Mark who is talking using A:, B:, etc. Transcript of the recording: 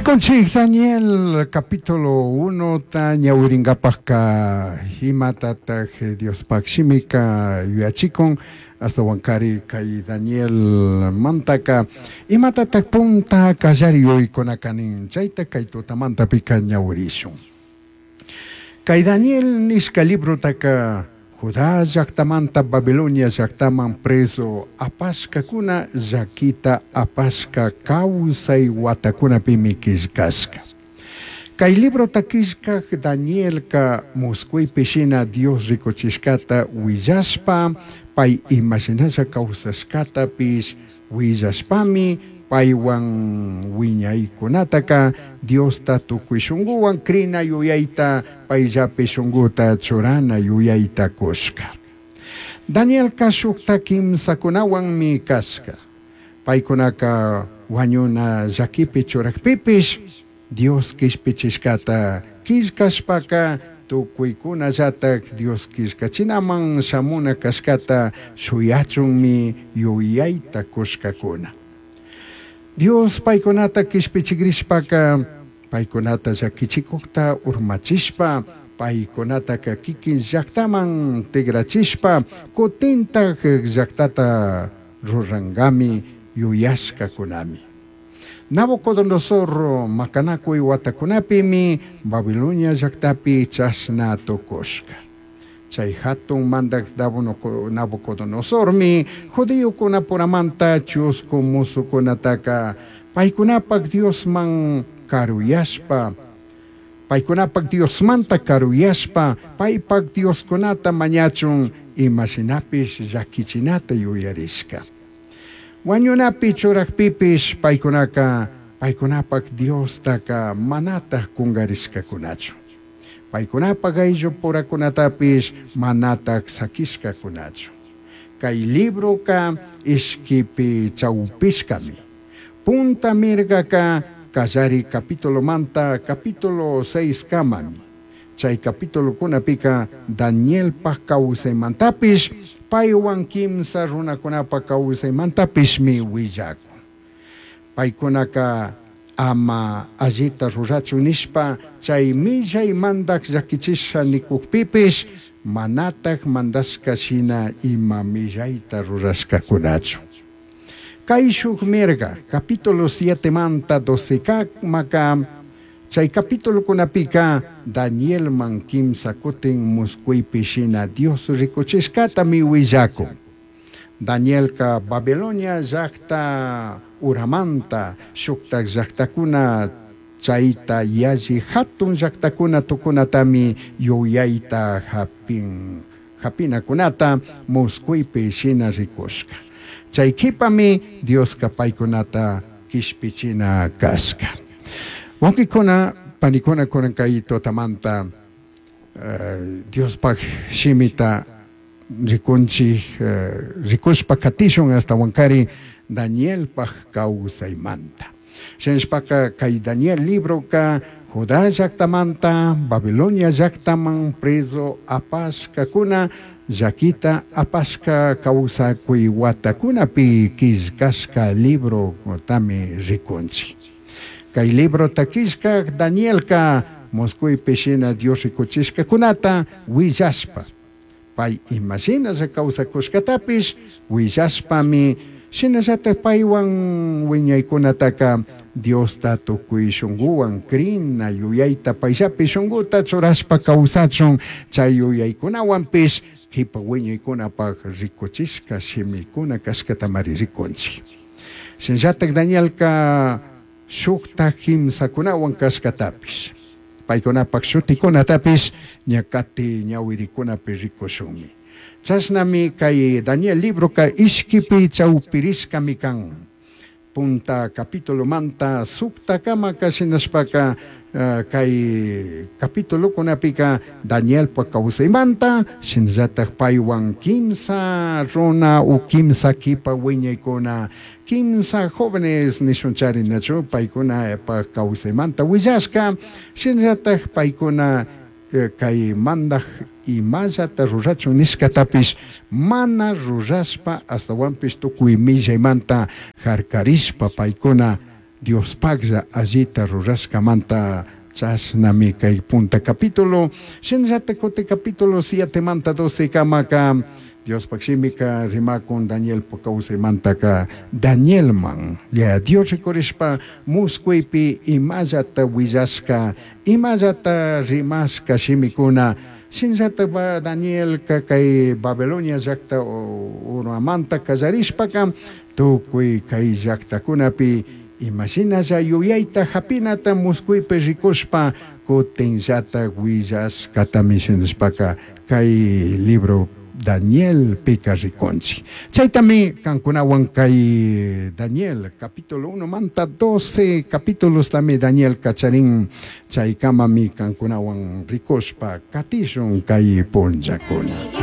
A: Rikunchik Daniel capítulo 1 ta ñawiringapajka imatataj Diospaj shimika yuyachikun ashtawankari kay Daniel mantaka imatataj punta kallari yuyaykunaka nin chayta kay tutamantapika ñawirishun. Kay Daniel nishka librotaka Judá llaktamanta Babilonia llaktaman preso apashkakuna llakita apashka kawsay watakunapimi killkashka. Kay librota killkak Danielka muskuypi shina Dios rikuchishkata willashpa pay imashinalla kawsashkatapish willashpami paywan wiñaykunataka Diosta tukuy shunkuwan krina yuyayta payllapi shunkuta churana yuyayta kushka. Danielka shukta kimsakunawanmi kashka. Paykunaka wañuna llakipi churakpipish Dios kishpichishkata killkashpaka tukuykunallatak Dios killkachinaman shamuna kashkata shuyachunmi yuyayta kushkakuna. Dios paykunata kishpichikrishpaka paykunata llakichikukta urmachishpa paykunataka kikin llaktaman tigrachishpa kutintak llaktata rurankami yuyashkakunami. Nabucodonosor makanakuy watakunapimi Babilonia llaktapi chashna tukushka. Chay hatun mandak Nabucodonosormi judiokunapuramanta chusku musukunataka paykunapak Diosman karuyashpa paykunapak Diosmanta karuyashpa paypak Dioskunata mañachun imashinapish llakichinata yuyarishka. Wañunapi churakpipish paykunaka paykunapak Diostaka manataj kungarishkakunachu. Paykunapak ayllupurakunatapish manataj sakishkakunachu. Kay libroka ishkipi chawpishkami. Punta mirgaka kallari capítulomanta capítulo 6 kamami. Chay capitulokunapika Danielpak kawsaymantapish paywan kimsa runakunapak kawsaymantapishmi willakun. Paykunaka ama allita rurachun nishpa chay millay mandak llakichisha nikukpipish manataj mandashka shina ima millayta rurashkakunachu. Kay shuk mirga capítulo 7 manta 12 kamaka chay capitulokunapika Danielman kimsa kutin muskuypi shina Dios rikuchishkatami willakun. Danielka Babilonia llakta uramanta shuktak llaktakuna chayta yalli hatun llaktakuna tukunatami yuyayta hapinakunata muskuypi shina rikushka. Chay kipami Dioska paykunata kishpichina kashka. Wawqikuna panikuna kunan kay tutamanta Diospaj shimita rikunchik rikushpa katishun ashtawankari Danielpaj kawsaymanta. Shinashpaka kay Daniel libroka Judá llaktamanta Babilonia llaktaman preso apashkakuna llakita apashka kawsakuy watakunapi killkashka libro tami rikunchik. Kay librota killkak Danielka muskuypi shina Dios rikuchishkakunata willashpa pay imashinalla kawsakushkatapish willashpami shinallatak paywan wiñaykunataka Diosta tukuy shunkuwan krina yuyayta payllapi shunkuta churashpa kawsachun chay yuyaykunawanpish kipa wiñaykunapak rikuchishka shimikuna kashkatamari rikunchik. Shinallatak Danielka shukta kimsakunawan kashkatapish paykunapak shutikunatapish ñakati ñawirikunapi rikushunmi. Chashnami kay Daniel libroka ishkipi chawpirishkami kan. Punta capítulo manta suktakamaka shinashpaka kay capitulokunapika Danielpa kawsaymanta shinallatak paywan kimsa runa u kimsa kipa wiñaykuna kimsa jóvenes nishunchari nachu paykunapa kawsaymanta willashka shinallatak paykuna kay mandak imallata rurachun nishkatapish mana rurashpa ashtawanpish tukuy millaymanta harkarishpa paykuna Diospajlla allita rurashcamanta chashnami kay punta capítulo. Shinallatak kutin capítulo 7 manta 12 kamaka Diospaj shimika rimakun Danielpa kawsaymantaka Danielman ya Dios rikurishpa muskuypi imallata willashka imallata rimashka shimikuna. Shinallatak Danielka kay Babilonia llakta urmamanta kallarishpaka tukuy kay llaktakunapi imashinalla yuyayta hapinata muskuypi rikushpa kutinllata willashkatami shinashpaka kay libro Daniel pika rikunchik. Chaytami kankunawan kay Daniel capítulo 1 manta 12 capítulos tami Daniel kacharin chaykamami kankunawan rikushpa katishun kay punllakuna.